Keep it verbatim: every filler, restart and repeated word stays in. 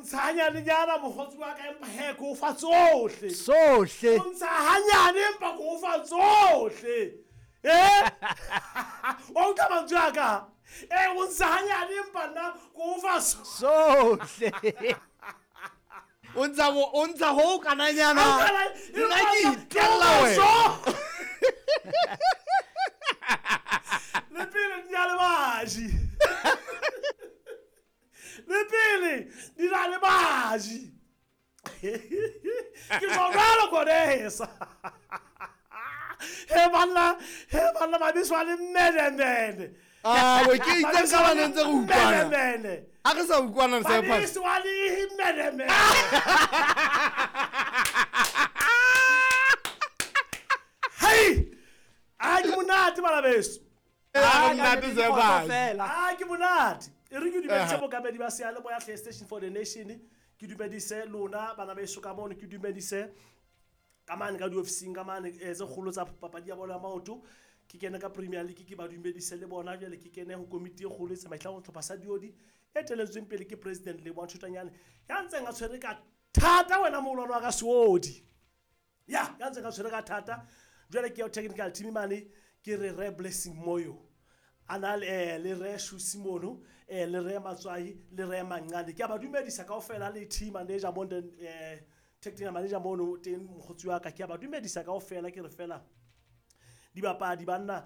O ntsha hanyanenyana mokgotsi wa ka empa he ke o fa tsohle. Sohle. O ntsha hanyane empa ke o fa tsohle. Eh? Wa utlwa mantswe a ka? Eh, o ntsha hanyane empa nna ke o fa Sohle. O ntsha bo o ntsha ho kananyana. Nna ke itella wena. Le pele di na le baji. Le pele di na le baji. Ke tjho jwalo Kodesa. He banna, he banna mabitso a le menemene. Ah, we ke itse ka ba ntse re utlwana. Menemene. A re sa utlwana Cyphers. Mabitso a le menemene. Hey! A ke monate bana beso. Ah, monate Cyphers. Ah, ke monate. E re ke dumedise bokamedi ba seyalemoya hle Station for the Nation. Ke dumedise lona bana beso ka mono, ke dumedise ka mane ka diofising ka mane eh, tse kgolo tsa papadi ya bolo ya maoto. Ke kene ka Premier League ke ba dumedise le bona. Jwale ke kene ho komiti e kgolo e tsamaisang sehlopha sa Diodi e teletsweng pele ke President Lebohang Thotanyane ya ntseng a tshwere ka thata wena moholwane wa ka Seodi. Ya, ya ntseng a tshwere ka thata. Jwale ke ya technical team mane ke re Re Blessing Moyo. A na le, eh, le Re Shusi mono, eh, le Re Matswai, le Re Manqane. Ke a ba dumedisa kaofela le team manager mono, eh, technical manager mono teng mokgotsi wa ka. Ke a ba dumedisa kaofela ke re fela dibapadi banna